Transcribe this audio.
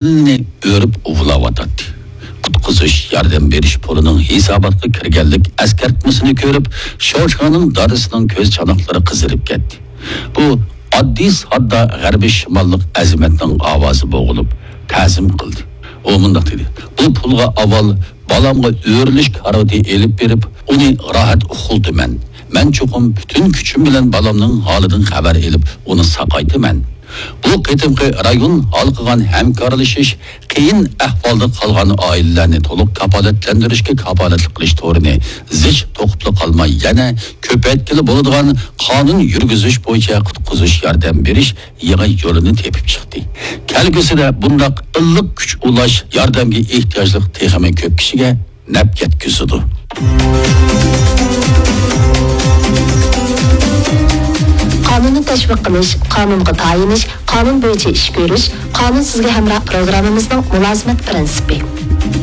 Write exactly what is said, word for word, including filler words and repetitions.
ئۆرۈپ ئۇۋۇلاۋاتاتتى. قۇتقۇزۇش ياردەم بېرىش پۇلىنىڭ ھېساباتقا كىرگەنلىك ئەسكەرتمىسىنى كۆرۈپ، شوشاڭنىڭ دادىسىنىڭ كۆز چاناقلىرى قىزىرىپ كەتتى. بۇ ئاددىي ساددا غەربىي شىماللىق ئەزىمەتنىڭ ئاۋازى بوغۇلۇپ، تەزىم قىلدى. ئۇ مۇنداق دېدى: «بۇ پۇلغا ئاۋۋال بالامغا ئۆرۈلۈش كارىۋىتى ئېلىپ بېرىپ، ئۇنى راھەت ئۇخلىتىمەن. مەن چوقۇم پۈتۈن كۈچۈم بىلەن بالامنىڭ ھالىدىن خەۋەر ئېلىپ، ئۇنى ساقايتىمەن.» بۇ قېتىمقى رايون ھالقىغان ھەمكارلىشىش، قىيىن ئەھۋالدا قالغان ئائىلىلەرنى تولۇق كاپالەتلەندۈرۈشكە كاپالەتلىك قىلىش تورىنى زىچ توقۇپلا قالماي، يەنە كۆپەيتكىلى بولىدىغان قانۇن يۈرگۈزۈش بويىچە قۇتقۇزۇش ياردەم بېرىش يېڭى يولىنى تېپىپ چىقتى. كەلگۈسىدە بۇنداق ئىللىق كۈچ ئۇلاش ياردەمگە ئېھتىياجلىق تېخىمۇ كۆپ كىشىگە نەپ يەتكۈزىدۇ. قانۇننى تەشۋىق قىلىش، قانۇنغا تايىنىش، قانۇن بويىچە ئىش كۆرۈش، قانۇن سىزگە ھەمراھ پروگراممىمىزنىڭ مۇلازىمەت پىرىنسىپى.